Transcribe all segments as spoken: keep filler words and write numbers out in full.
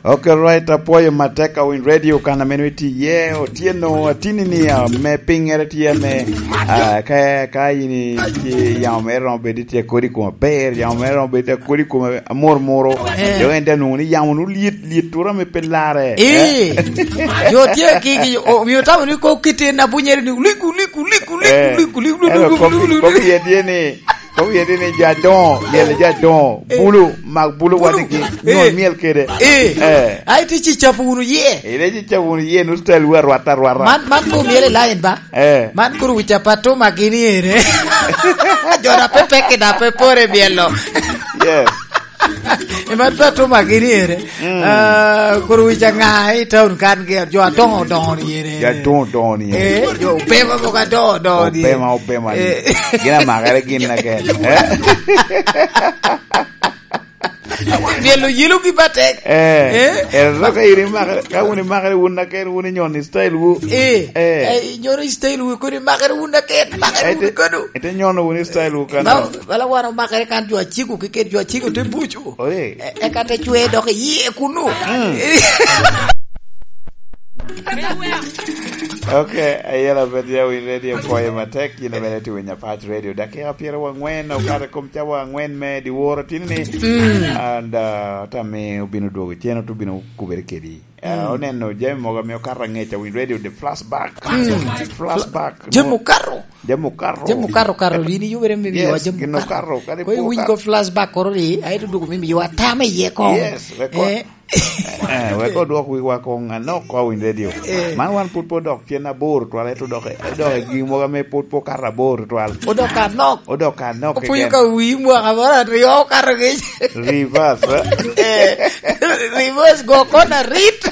Ok, right, apwoyo matek a winy radio kan a meno itye iye, otyeno, atini ni, ah, me piŋŋere tye me, ah, ka, ka in i, i yamo mere romo bedo itye kodi i kome aber, yamo mere romo bedo itye kodi i kome amor moro. Eh. Jo en te nwoŋo ni yamo nu lyet, lyet tura me pe larre. Eh. Eh. Jo tye ki, ki, o, omio tamo ni ko kite na bunyere ni, liku, liku, liku, liku, eh, liku, liku, ento liku, kop-, liku, liku, kop-, iye tye ni, Kop iye ni jo adoŋo, myel jo adoŋo, eh, bulu, mak bulu, bulu wadigi, eh, nywol myel kede. Eh. Eh. Ai, ti ci capo wunu ye. Ite ci capo wunu ye, nu style wu arwata arwata. Man, man ko myel i line ba? Eh. Man kuru wica pa Tuma gini ere. Jo na pe peke na pe pore myelo. Yes. E man pe Tuma gini ere. Mm. Ah, kuru wica ŋa i town kan ge, jo adoŋo doŋo ni ere. Jo adoŋo doŋo ni ere. Eh, jo Opema mogo adoŋo doŋo ni ere. Opema, Opema ni. Eh. Gin amakere gin na gen. Eh? Myelo yelo gi batek. Eh. Eh? Ero ka iri makere, ka wun imakere wun na gen, wun inyono i style wu. Eh. Eh. Eh, inyono i style wu, kodi makere wun na gen, makere wun kano. Ite nyono wun i style wu kano. Ba-, bala wan omakere kan jo aciko keken, jo aciko te buco. Oye. E-, eka te cwe dok iye kunu. Mm. Ok, ayela bet ya winy radio koye matek, yin abene ti winy Apac Radio. Dakika pyeraryo angwen, okato i kom cawa angwen me diwaro tini ni. Mm. And, uh, tami obino dwogo cen, otu bino kubere kedi. Eh, mm, oneno jami mogo ame okato angec, awinyo radio, the flashback. Mm. Flashback. Jami okato. Jami okato. Jami okato, okato, yin iyubere me miwa jami okato. Yes, gin okato, kadi pwod okato. Ko iwinyo flashback koro ni, aye to dwogo me miwa tam iye kong. Yes, wek ko-, eh, eh, wek odwok wiwa kong anok ko awinyo radio. Eh. Man wan pud pe odok cen aboro twal, ento dok, dok i gin mogo ame pud pe okato aboro twal. Odok anok. Odok anok keken. Opwonyo ka wi mwaka moro aryo okato kec. Reverse, eh? Eh, reverse go kona rit.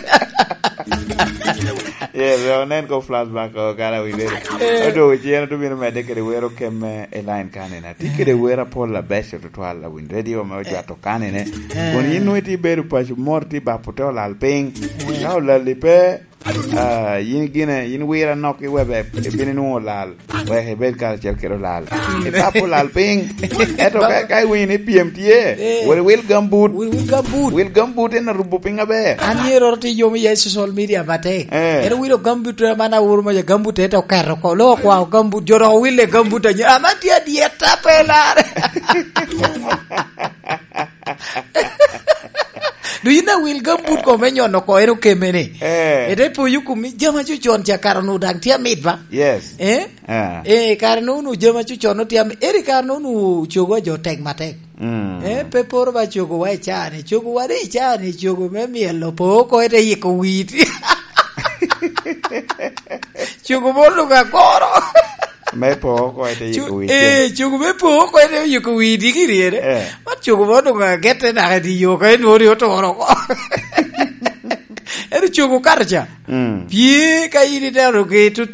Yes, onen ko flashback o kara wi lero. Eh. Odo cen otu bino medde kede wero kemme i line kanina. Ti kede wero apol abeco tutwal a winy radio ame ojwato kanine. Eh. Kun yin nwe ti bedo paco mor ti bapo te olal piny. Eh. Ka olal ipe, ah, yin gine, yin wira nok i webe, ibino inwoŋo olal. Wek ibed karacel kede olal. Mm. Ipap olal piny. Ento ka, ka iwinyo ni pyem tye, eh, wot iwil gambut. Wil, wil gambut. Wil gambut en arubo piny aber. An ye roro ti yomo iye i social media matek. Eh. Ero wilo gambut, man awuro ma gambut ete oketo ko. Lo kwa gambut, jo dok owile gambut anye. Ama tye adyet, ape lar. Do you know wil gambut ko me nyono ko en okeme ni? Eh. Ete poyo kumi jama cucon ca kara nu dang tye amit ba? Yes. Eh? Eh. Eh, kare no nu jama cucon nu tye amit. Eri kare no nu cogo a jo tek matek. Mm. Eh, pe poro ba cogo wa i cani. Cogo wa de i cani, cogo me mielo po ko ete yiko witi. Cogo mo nu ka koro. Me po oko ete yiko witi. Cu-, eh, cugu me po oko ete yiko witi ki ryere. Eh. Man cugu mo doŋ agette naka i dye yo ka enwoŋo ni oturo oko. Ento cugu kato ca. Mm. Pye ka in ineno gi tutu